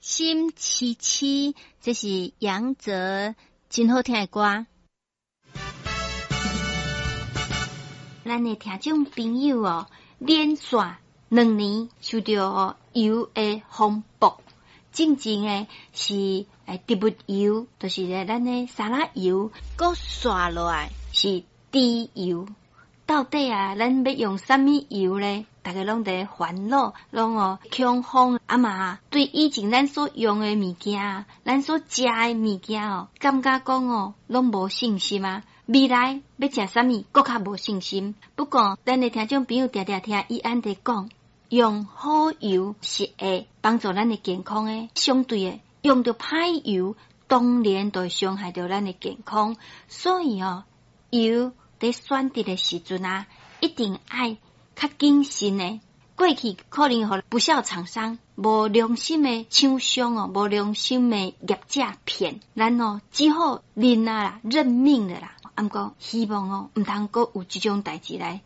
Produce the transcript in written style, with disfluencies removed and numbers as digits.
心痴痴，這是楊哲真好聽的歌。咱的聽眾朋友哦，連續2年受著油的風暴，進前的是植物油，就是咱的沙拉油，閣紲落來是豬油。到底啊，咱欲用啥物油咧？逐家攏佇煩惱，攏哦恐慌。啊嘛，對以前咱所用的物件，咱所食的物件哦，感覺講哦，攏無信心啊。未來欲食啥物，閣較無信心。不過，咱的聽眾朋友定定聽伊按佇講，用好油是會幫助咱的健康的。相對的，用著歹油，當然就會傷害著咱的健康。所以哦，油佇選擇的時陣啊，一定愛較謹慎的。過去可能予不肖廠商、無良心的廠商哦、無良心的業者騙，咱哦只好認啊啦，認命了啦。毋過希望哦，毋通閣有這種代誌來。